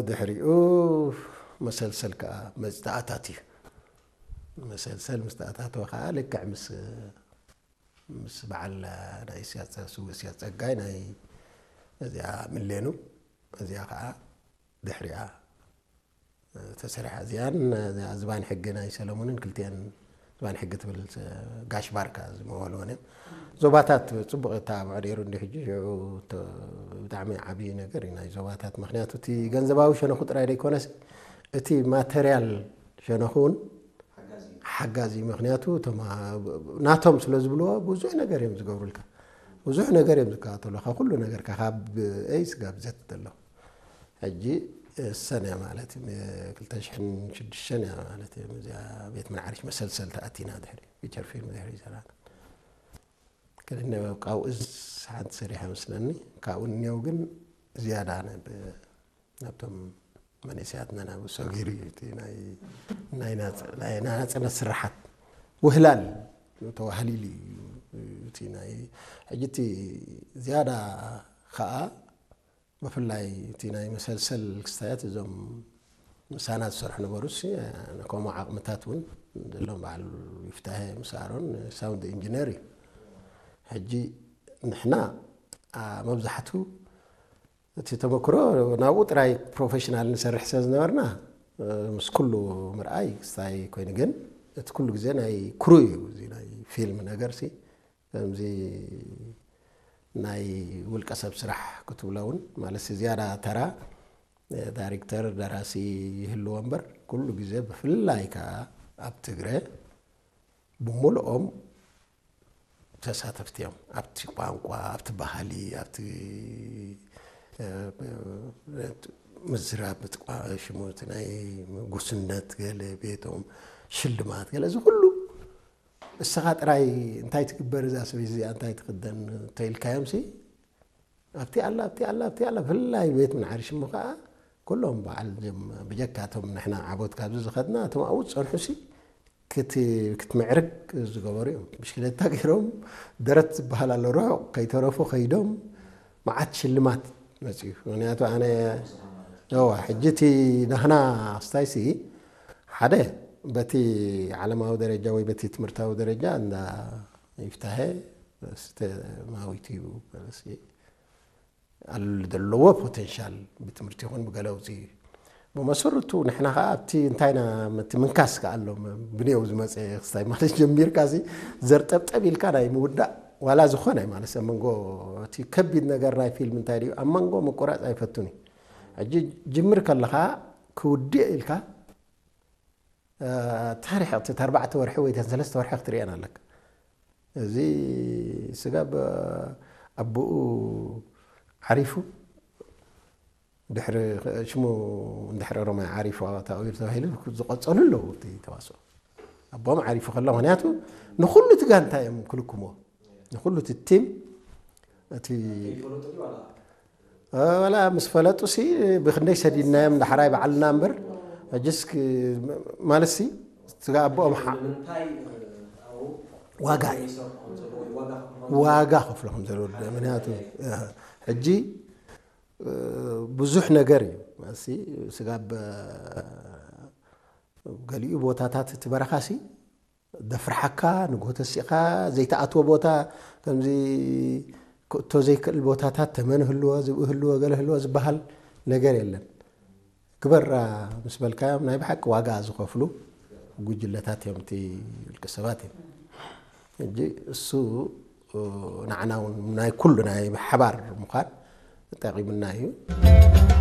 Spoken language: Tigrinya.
ድሕሪኡ መሰልሰል ከዓ መፅዳእታት እዩ። መሰልሰል ምስ ተኣታተወ ከዓ ልክዕ ምስ ምስ በዓል ናይ ስያፀ ስው ስያፀ ፀጋይ ናይ እዚኣ ምሌኑ እዚኣ ከዓ ድሕሪኣ ተሰሪሓ እዚኣን እዚኣ ዝባን ሕጊ ናይ ሰለሙንን ክልቲኣን ዝባን ሕጊ ትብል ጋሽ ባርካ ዝመበልወን እዮም። ዞባታት ፅቡቅ የተባብዖ ነይሩ እንዲ ሕጂ ሽዑ ብጣዕሚ ዓብዪ ነገር እዩ ናይ ዞባታት። ምክንያቱ እቲ ገንዘባዊ ሸነኹ ጥራይ ዘይኮነስ እቲ ማተርያል ሸነኹ እውን ሓጋዚ። ምክንያቱ ናቶም ስለ ዝብልዎ ብዙሕ ነገር እዮም ዝገብሩልካ። ብዙሕ ነገር እዮም ዝከታተሉካ ኩሉ ነገርካ ካብ ኤ ስጋብ ዘት ዘሎ። ሕጂ እሰን እያ ማለት እዩ። ክልተ ሽሕን ሽዱሽተን እያ ማለት እዩ። እዚኣ ቤት ምንዓርሽ መሰልሰል ተኣቲና ድሕሪ ፊቸር ፊልም ድሕሪ ይሰራና ክልነ ካብኡ ሓንቲ ሰሪሐ መስለኒ። ካብኡ እኒው ግን ዝያዳ ናብቶም መንእሰያትና ናብ ሰጊሩ እዩ እቲ ናይ ናጽነት ስርሓት ውህላል ተዋህሊሉ እዩ። እቲ ናይ ሕጂ እቲ ዝያዳ ከዓ ብፍላይ እቲ ናይ መሰልሰል ክስታያት እዞም ምሳና ዝሰርሑ ነበሩ ሲ ከምኡ ዓቕምታት እውን ዘለዎም በዓል ይፍታሄ ምስ ኣሮን ሳውንድ ኢንጂነር እዩ። ሕጂ ንሕና መብዛሕቱ እቲ ተመክሮ ናብኡ ጥራይ ፕሮፌሽናል ንሰርሕ ስለ ዝነበርና ምስ ኩሉ ምርኣይ ክስታይ ኮይኑ ግን እቲ ኩሉ ግዜ ናይ ክሩ እዩ እዚ ናይ ፊልም ነገር ሲ ከምዚ ናይ ውልቀ ሰብ ስራሕ ክትብሎ እውን ማለት ዝያዳ ተራ ዳይሬክተር ደራሲ ይህልዎ እምበር ኩሉ ግዜ ብፍላይ ከዓ ኣብ ትግረ ብምልኦም ተሳተፍቲ እዮም። ኣብቲ ቋንቋ ኣብቲ ባህሊ ኣብቲ ምዝራብ ሽሙቲ ናይ ጉስነት ገለ ቤቶም ሽልማት ገለ እዚ ኩሉ እስኻ ጥራይ እንታይ ትግበር እዛ ሰበይቲ እዚኣ እንታይ ትኽደን ተኢልካዮም ሲ ኣብቲ ኣላ ኣብቲ ኣላ ኣብቲ ኣላ ብፍላይ ቤት ምንዓሪ ሽሙ ከዓ ኩሎም በዓል ብጀካቶም ንሕና ዓቦት ካብዚ ዝኸድና እቶም ኣብኡ ዝፀንሑ ሲ ክትምዕርግ ዝገበሩ እዮም። ብሽክለታ ገይሮም ደረት ዝበሃል ኣሎ ርሑቕ ከይተረፉ ከይዶም መዓት ሽልማት መፅዩ። ምክንያቱ ኣነ እዋ ሕጂ እቲ ናህና ስታይሲ ሓደ በቲ ዓለማዊ ደረጃ ወይ በቲ ትምህርታዊ ደረጃ እንዳ ይፍታሄ ማዊት እዩ ኣለዎ ፖቴንሻል ብትምህርቲ ይኹን ብገለ ውፅእ እዩ። ብመሰረቱ ንሕና ከዓ ኣብቲ እንታይና እቲ ምንካስ ከዓ ኣሎ ብኔው ዝመፀ ክስታይ ማለት ጀሚርካ ሲ ዘርጠብጠብ ኢልካ ናይ ምውዳእ ዋላ ዝኾነ ማለት ኣብ መንጎ እቲ ከቢድ ነገር ናይ ፊልም እንታይ ድዩ ኣብ መንጎ ምቁራፅ ኣይፈቱን እዩ። ሕጂ ጅምር ከለኻ ክውድእ ኢልካ ታሪክ እቲ ኣርባዕተ ወርሒ ወይ ሰለስተ ወርሒ ክትርእየን ኣለካ። እዚ ስጋብ ኣቦኡ ዓሪፉ ድሕሪ ሽሙ እንድሕሪ ኦሮማይ ዓሪፉ ተኣዊሩ ተባሂሉ ዝቐጸሉ ኣለዉ እቲ ተዋስኦ ኣቦም ዓሪፉ ከሎ ምክንያቱ ንኩሉ እቲ ጋንታ እዮም ክልክሞ ንኩሉ እቲ ቲም እቲ ወላ ምስ ፈለጡ ሲ ብክንደይ ሰዲድናዮም ዳሕራይ በዓልና እምበር ሕጅስ ማለት ሲ ስጋ ኣቦኦም ዋጋ እዩ ዋጋ ከፍሎ ከም ዘለዎ ምክንያቱ ሕጂ ብዙሕ ነገር እዩ ሲ ስጋ ገሊኡ ቦታታት እቲ በረኻ ሲ ደፍርሓካ ንጎተሲኻ ዘይተኣትዎ ቦታ ከምዚ ክእቶ ዘይክእል ቦታታት ተመን ህልዎ ዝብኢ ህልዎ ገለ ህልዎ ዝበሃል ነገር የለን። ግበራ ምስ በልካዮም ናይ ብሓቂ ዋጋ ዝኸፍሉ ጉጅለታት እዮም እቲ ውልቀ ሰባት እዮም። ሕጂ እሱ ንዓና እውን ናይ ኩሉ ናይ ሓባር ምዃን ጠቂምና እዩ።